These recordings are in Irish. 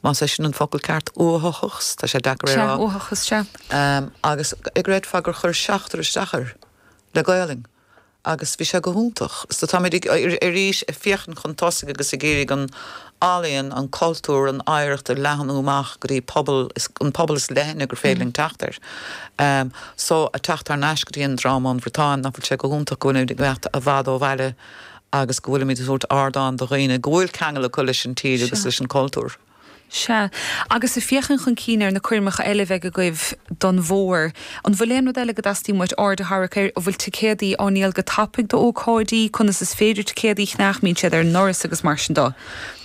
Más é sin an focal ceart, uathachas, tá sé deacair é a rá. Sea, uathachas, sea. Agus an gcreidfeá gur chuir seachtar isteach air le Gaolainn agus bhí sé go hiontach. So táimid ag, arís, ag féachaint chun tosaigh agus ag iarraidh an ealaíon, an cultúr, an oidhreacht a leathnú amach go dtí pobal, an pobal is leithne gur féidir linn teacht air. So, ag teacht thar n-ais go dtí an dráma ón Bhriotáin, nach bhfuil sé go hiontach go bhfuilimid ag imeacht i bhfad ó bhaile agus go bhfuilimid ag tabhairt ardán do dhaoine go bhfuil ceangal acu leis an tír agus leis an cultúr. Sea. Agus ag féachaint chun cinn ar na coirmeacha eile a bheidh agaibh don bhfómhar, an bhfuil aon rud eile go dteastaíonn uait aird a tharrac air? An bhfuil ticéadaí á ndíol go tapaidh d'ócáidí? Conas is féidir ticéadaí a cheannach? Mbíonn siad ar an ndoras agus mar sin de?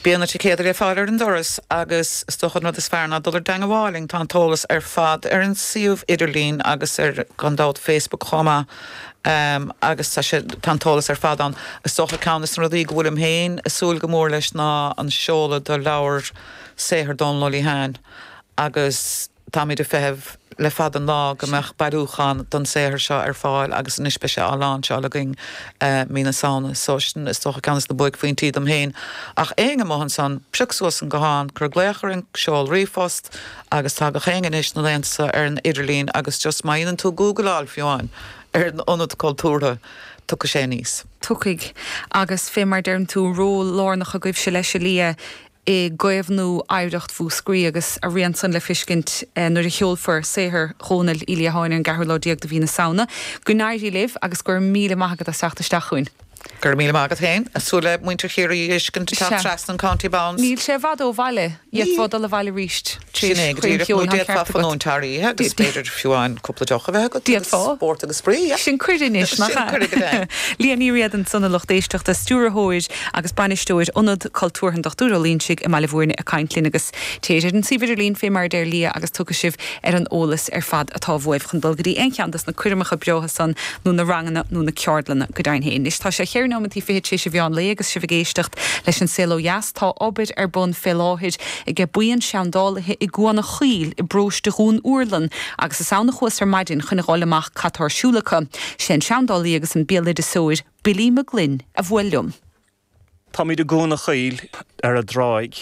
Bíonn na ticéadaí le fáil ar an doras agus is dócha an rud is fearr ná dul ar dTeangabháil linn. Tá an t-eolas ar fad ar an suíomh idirlín agus ar, gan dabht, Facebook chomh maith. Agus tá sé, tá an t-eolas ar fad ann. Is dócha ceann de na rudaí go bhfuilim féin ag súil go mór leis ná an seoladh do leabhar saothair Dónal Ó Liatháin agus táimid ag feitheamh le fada an lá go mbeadh bailiúchán den saothar seo ar fáil agus anois beidh sé á láinseáil againn mí na Samhna. So sin is dócha ceann de na buaicphointí dom féin. Ach éinne amuigh ansan, pioc suas an guthán, cuir glaoch orainn, seol ríomhphost, Agus tá gach éinne anois na laethanta seo ar an idirlíon agus just má dhéanann tú gúgláil fiú amháin ar an Ionad Cultúrtha, tiocfaidh sé aníos. Tiocfaidh. Agus fé mar deireann tú, ról lárnach agaibhse leis, a Lia, i gcaomhnú oidhreacht Mhúscraí agus a rian san le fiscint nuair a sheolfar saothar Dhónaill Uí Liatháin ar an gceathrú lá déag de mhí na Samhna. Go n-éirí libh agus go raibh míle maith agat as teacht isteach chugainn. Go raibh míle maith agat féin. Ag súil le muintir Chiarraí a fheiscint ag teacht trasna an County Bounds. Níl sé i bhfad ó bhaile. D'fhéadfá dul abhaile arís tar éis choirm cheoil, tá an ceart agat. D'fhéadfá fanúint thar oíche agus b'fhéidir fiú amháin cúpla deoch a bheith agat agus spórt agus spraoi, yeah. Sin cuireadh anois, nach ea? Sin cuireadh go deimhin. Liadh Ní Riada ansan a lucht éisteachta, stiúrthóir agus bainisteoir Ionad Cultúrtha an Dochtúir Ó Loingsigh i mBaile Bhúirne ag caint linn agus téir ar an suíomh idirlín fé mar a deir Liadh agus tiocfaidh sibh ar an eolas ar fad atá uaibh chun dul go dtí aon cheann dos na coirmeacha breátha san nó na ranganna nó na ceardlanna go deimhin féin. Anois tá sé cheithre nóimeantaí fichead tar éis an mheán lae agus sibh ag éisteacht leis An Saol Ó Dheas. Tá obair ar bun fé láthair age buíon seandálaithe i gCuan a' Chaoil i bparóiste Dhún Úrlann agus is ann a chuas ar maidin chun a dh'fháil amach cad tá ar siúl acu. Sé an seandálaí agus an béaloideasóir Billy Mac Gloinn a bhuail liom. Táimid i gCuan a' Chaoil ar an dtráigh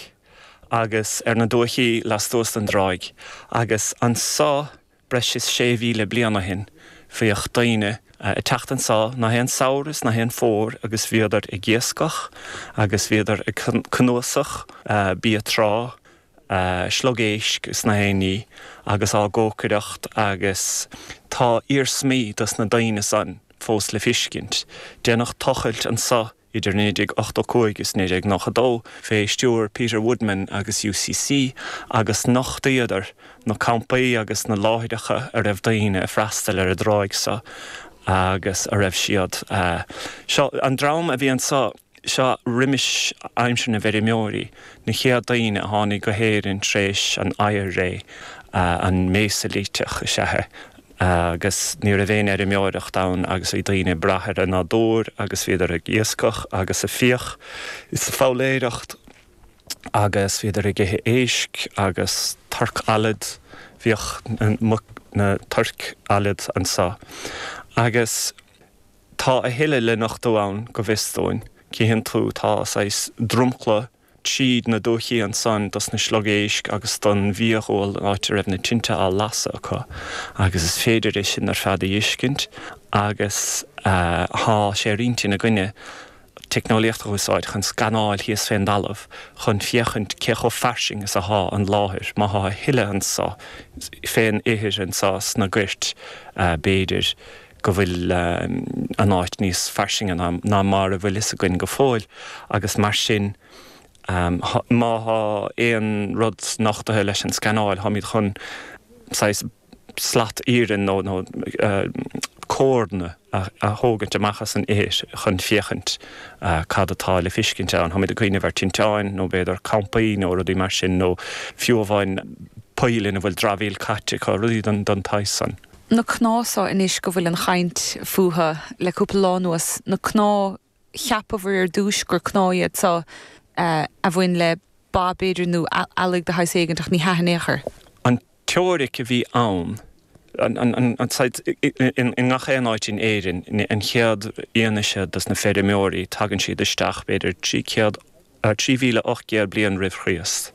agus ar na dúichí lastuas den dtráigh agus anso breis is 6,000 bliain ó shin bhíodh daoine ag teacht anso na haon samhradh is na haon fómhar agus bhíodar ag iascach agus bhíodar ag cnuasach bia trá, sliogéisc is na haon ní agus á gcócaireacht agus tá iarsmaí dos na daoine san fós le fiscint. Déanadh tochailt anso idir 1985 is 1992 fé stiúir Peter Woodman agus UCC agus nochtaíodar na campaí agus na láithreacha a raibh daoine ag freastal ar an dtráigh so agus a raibh siad. Seo an dream a bhí anso. Seo roimis aimsir na bhfeirmeoirí, na chéad daoine a tháinig go hÉirinn tar éis an oighear-ré, an Méisilíteach is ea é, agus ní raibh aon fheirmeoireacht ann agus bhí daoine ag brath ar an nádúr agus bhíodar ag iascach agus ag fiach is ag foghlaeireacht agus bhíodar ag ithe éisc agus torc allaid, bhíodh na toirc allaid anso agus. Tá a thuilleadh le nochtadh ann, go bhfios dúinn. Cífeann tú, tá saghas dromchla tríd na dúichí ansan dos na sliogéisc agus don bhfiadhúil, an áit a raibh na tinte á lasadh acu, agus is féidir é sin ar fad a fheiscint agus thá sé ar intinn againne teicneolaíocht a úsáid chun scanáil thíos fén dtalamh chun féachaint cé chomh fairsing is athá an láthair, má thá a thuilleadh anso fén ithir anso sna goirt, b'fhéidir. go bhfuil an áit níos fairsinge ná mar a bhfuil fhios againn go fóill agus mar sin má thá aon rud nochtaithe leis an scanáil táimid chun saghas slat iarainn nó nó córanna a thógaint amach as an ithir chun féachaint cad atá le fiscint ann. Táimid ag cuimhneamh ar tinteáin nó b'fhéidir campaí nó rudaí mar sin nó fiú amháin poill ina bhfuil dramhaíl caite acu, rudaí den tsaghas san. Na cnámha so anois go bhfuil an chaint fúthu le cúpla lá anuas, na cnámha, cheapabhair ar dtúis gur cnámha iad so a bhain le ba b'fhéidir nó eallaigh de shaghas éigint ach ní hea in aon chor. An teoiric a bhí ann, an saghas, i ngach aon áit in Éirinn, an chéad fhianaise dos na feirmeoirí, tagann siad isteach b'fhéidir 300, 3,800 bliain roimh Chríost.